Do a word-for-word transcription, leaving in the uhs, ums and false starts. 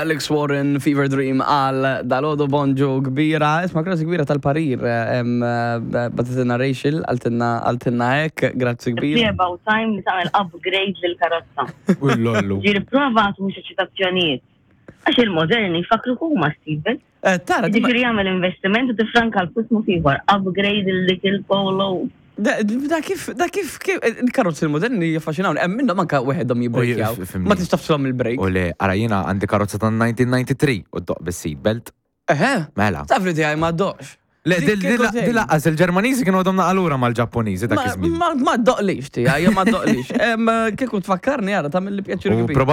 Alex Warren, Fever Dream għal dalgħodu. Bonġu kbira, isma', grazzi kbira tal-parir, em, eh, bagħtitilna Rachel, qaltilna qaltilna hekk, grazzi It's kbira. about time li tagħmel upgrade lill-karozza. Ullollu. Ġiri prova mhux eċitazzjonijiet. Għax il-moderni fakru huma Steven. Eh, Tara, di ma- Ġifieri jagħmel investiment u tifranka l-flus mod ieħor. Upgrade il-dik il-Polo. Da da kif, da kif, kif, il-karozzi il-moderni jaffaxxinawni, hemm minnhom anka weħedhom jibbrejkjaw. U jif- Ma tistax tafsilhom il-brake. U le, ara, jiena għandi karozza ta' elf disa' mija u tnejn u disgħin u ddoqq bis-seatbelt. Eħe, Mela. Taf li tiegħi ma ddoqqx. Le, Dik dil- dil kieku tgħid. dil lanqas il-Ġermaniżi kienu għadhom naqalura mal-Ġappuniżi dak Ma iż-żmien. ma ma ddoqqlix tiegħi, ma ddoqqlix. Em, Kieku tfakkarni, ara, tagħmel li pjaċir U kbir.